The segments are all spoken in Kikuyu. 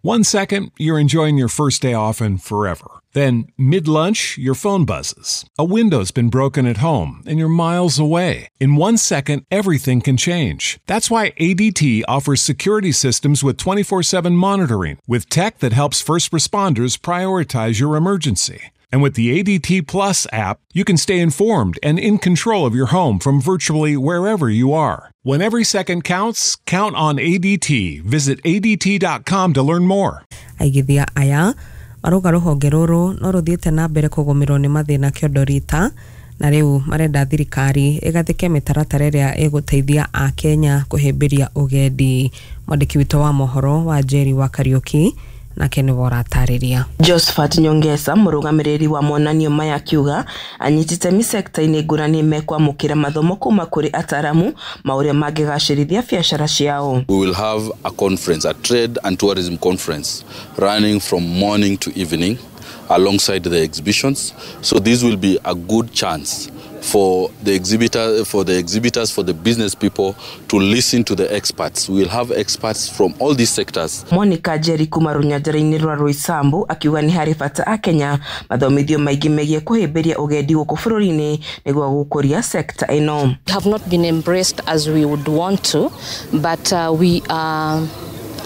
1 second, you're enjoying your first day off and forever. Then, mid-lunch, your phone buzzes. A window's been broken at home, and you're miles away. In 1 second, everything can change. That's why ADT offers security systems with 24/7 monitoring, with tech that helps first responders prioritize your emergency. And with the ADT Plus app, you can stay informed and in control of your home from virtually wherever you are. When every second counts, count on ADT. Visit ADT.com to learn more. Aigithia aya marauga rũhonge rũrũ no rũthiĩte na mbere kũgũmĩrwo nĩ mathĩna kĩondo rita na rĩu marenda thirikari ĩgathĩke mĩtaratara ĩrĩa ĩgũteithia akenya kũhĩmbĩria ũgendi. Mwandĩki witũ wa mohoro wa Njeri wa Kariuki nake nĩwe ũratarĩria. Josephat Nyongesa mũrũgamĩrĩri wa monanio maya akiuga anyiti itemi sekta-inĩ ngũrani mekwamũkĩra mathomo kuma kũrĩ ataramu ma ũrĩa mangĩgacĩrithia biacara ciao. We will have a conference, a trade and tourism conference running from morning to evening alongside the exhibitions. So this will be a good chance for the exhibitors, for the business people to listen to the experts. We will have experts from all these sectors. Monica Jerry kuma rũnyanjara-inĩ rwa Roysambu akiuga nĩ harĩ bata akenya mathomithio maingĩ megiĩ kũhĩmbĩria ũgendi gũkũ bũrũri-inĩ nĩguo gũkũria sector ĩno. Have not been embraced as we would want to, but we are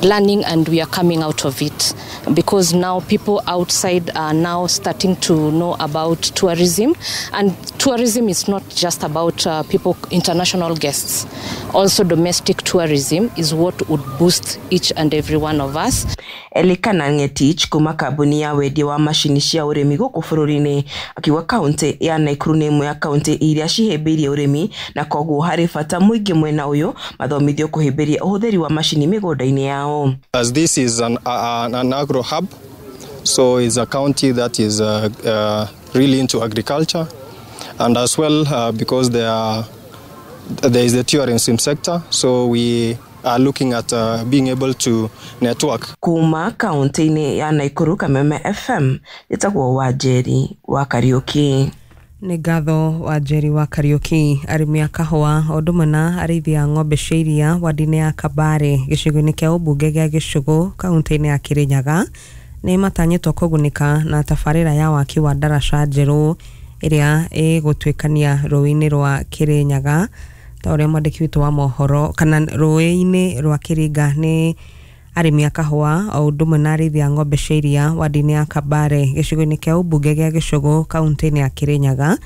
learning and we are coming out of it, because now people outside are now starting to know about tourism, and tourism is not just about people, international guests. Also domestic tourism is what would boost each and every one of us. Elikana Ngetich kuma kambuni ya wendia wa macini cia ũrĩmi gũkũ bũrũri-inĩ akiuga kaunti ya Nakuru nĩ ĩmwe ya kaunti iria cihĩmbĩirie ũrĩmi na koguo harĩ bata mũingĩ mwena ũyũ mathomithio kũhĩmbĩria ũhũthĩri wa macini mĩgũnda-inĩ yao. As this is an agro hub, so it's a county that is really into agriculture, and as well because there is the tourism sector, so we are looking at being able to network. Kuma kaunti-inĩ ya Nakuru, Kameme FM, njĩtagwo Wanjeri wa Kariuki. Nĩ ngatho Wanjeri wa Kariuki. Arĩmi a kahũa o ũndũ ũmwe na arĩithi a ng'ombe cia iria wadi-inĩ ya Kabare gĩcigo-inĩ kĩa ũmbunge gĩa Gĩcũgũ kaunti-inĩ ya Kĩrĩnyaga nĩ matanyĩtwo kũgunĩka na tabarĩra ya waki wa ndaraca njerũ ĩrĩa ĩgũtuĩkania rũĩ-inĩ rwa Kĩrĩnyaga ta ũrĩa mwandĩki witũ wa mohoro kana rũĩ-inĩ rwa Kĩringa. Nĩ arĩmi a kahũa o ũndũ ũmwe na arĩithi a ng'ombe cia iria wadi-inĩ ya Kabare gĩcigo-inĩ kĩa ũmbunge gĩa Gĩcũgũ kaunti-inĩ ya Kĩrĩnyaga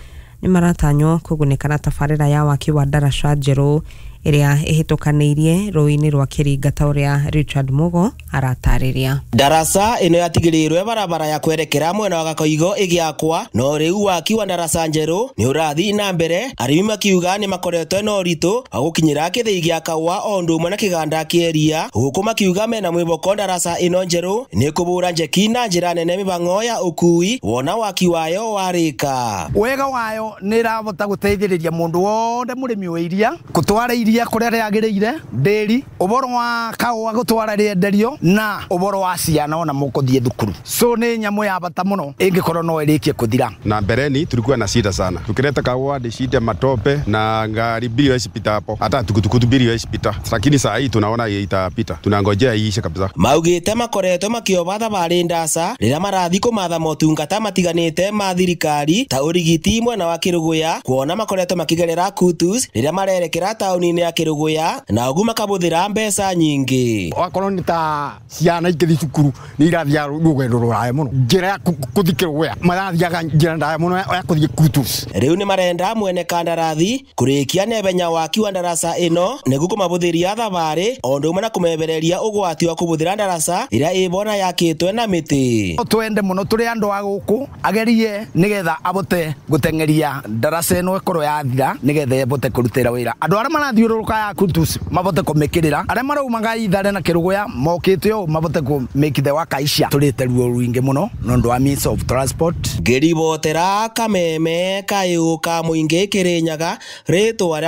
nĩ maratanywo kũgunĩka na tabarĩra ya waki wa ndaraca njerũ ĩrĩa ĩhĩtũkanĩirie rũĩ-inĩ rwa Kĩringa ta ũrĩa Richard Mugo aratarĩria. Ndaraca ĩno yatigĩrĩirwe barabara ya kwerekera mwena wa Gakoigo ĩgĩakwa, no rĩu waki wa ndaraca njerũ nĩ ũrathiĩ na mbere. Arĩmi makiuga nĩ makoretwo na ũritũ wa gũkinyĩra kĩthĩi gĩa kahũa o ũndũ ũmwe na kĩganda kĩa iria, gũkũ makiuga mena mwĩhoko ndaraca ĩno njerũ nĩ kũbũra njeki na njĩra nene mĩhang'o ya ũkui wona waki wayo warĩka. Wega wayo nĩ ĩrahota gũteithĩrĩria mũndũ wothe mũrĩmi wa iria gũtwara iria kũrĩa rĩagĩrĩire ndĩri ũboro wa kahũa gũtwara rĩenderio na ũboro wa ciana ona mũkũthiĩ thukuru. So nĩ nyamũ ya bata mũno ĩngĩkorwo no ĩrĩkie kũthira. Na mbeleni tulikuwa na shida sana, tukileta kahũa ni shida, matope na ngari mbili haiwezi pita hapo, hata tukutuku mbili haiwezi pita, lakini saa hii tunaona itapita, tunangojea iishe kabisa. Maugĩte makoretwo makĩoba thabarĩ ndaca rĩrĩa marathiĩ kũmatha motungata matiganĩte ma thirikari ta ũrigiti mwena wa Kĩrũgũya, kuona makoretwo makĩgerera Kutus rĩrĩa marerekera taũni-inĩ ya Kĩrũgũya na ũguo makabũthĩra mbeca nyingĩ. Wakorwo nĩ ta ciana ikĩthiĩ cukuru nĩ irathiaga rũgendo rũraya mũno, njĩra ya kũthiĩ Kĩrũgũya marathiaga njĩra ndaya mũno ya kũthiĩ Kutus. Rĩu nĩ marenda mwene kandarathi kũrĩkia nebenya waki wa ndaraca ĩno nĩguo kũmabũthĩria thabarĩ o ũndũ ũmwe na kũmebereria ũgwati wa kũbũthĩra ndaraca ĩrĩa ĩbona yakĩtwe na mĩtĩ. Twende mũno tũrĩ andũ a gũkũ agerie nĩgetha abote gũteng'eria ndaraca ĩno ĩkorwo yathira nĩgetha ĩbote kũrutĩra wĩra andũ arĩa marathiũrũrũka ya Kutus mabote kũmĩkĩrĩra, arĩa maraumaga Ithare na Kĩrũgũya mokĩte ũũ mabote kũmĩkithe wa kaisha. Tũrĩte ruo rũingĩ mũno nĩ ũndũ wa means of transport. Ngĩribotera Kameme kayũ ka mũingĩ Kĩrĩnyaga rĩtwa rĩa